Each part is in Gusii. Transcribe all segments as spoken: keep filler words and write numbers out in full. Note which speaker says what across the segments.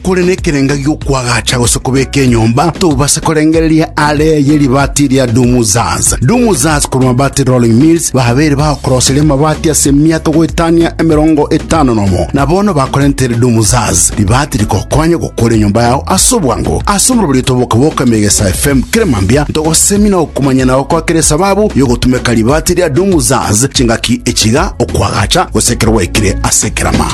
Speaker 1: Kore nekerenga giokwagacha gose kobeka enyomba, tobase korengereria are yeribati ria Dumuzaz. Dumuzaz korwa Mabati Rolling Mills babere bagokoroseria amabati ase emiaka goetania emerongo etano nomo, na bono bakorentere Dumuzaz ribati rikokonya gokora enyomba yao ase obwango. Ase omorobori tobokaboka Megesa F M keremambia ntogosemi na okomanya nao kwakere sababu yogotumeka ribati ria Dumuzaz chingaki echiga okwagacha gose ekero gwaikire ase ekerama.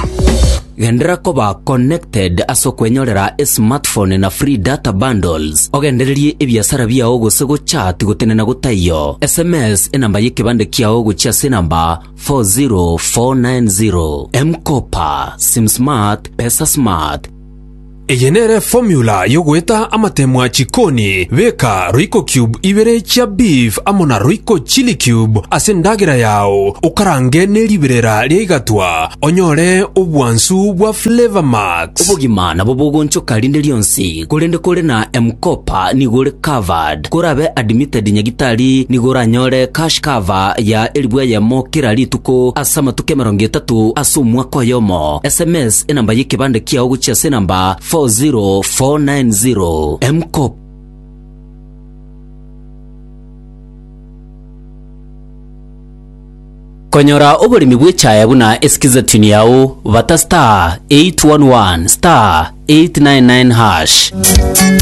Speaker 2: Gendera koba connected ase okwenyorera esmartphone na free data bundles, ogendererie ebiasara biao gose gochat gotenena gotaiyo. S M S enamba y'ekebande kiao gochia ase enamba four zero four nine zero. M-Kopa, sim smart, pesa smart.
Speaker 3: Eye nere formula yogoeta amatemwa chikoni. Beka Royco cube ibere chia beef amo na Royco chili cube ase endagera yao, okarange neriberera ria igatwa, onyore obwansu bwa Flavor Max.
Speaker 2: Obogima nabo bogonchoka rinde rionsi, korende kore na M-Kopa nigo ore covered. Korabe admitted nyagitari, nigo oranyore cash cover ya elibu eyemo kera rituko ase amatuko emerongo etato ase omwaka oyomo. S M S enamba y'ekebande kiao gochia ase enamba four zero four nine zero. M-Kopa. Konyora oboremi bw'echaya buna eskiza tune yao, bata star eight one one star eight nine nine hash.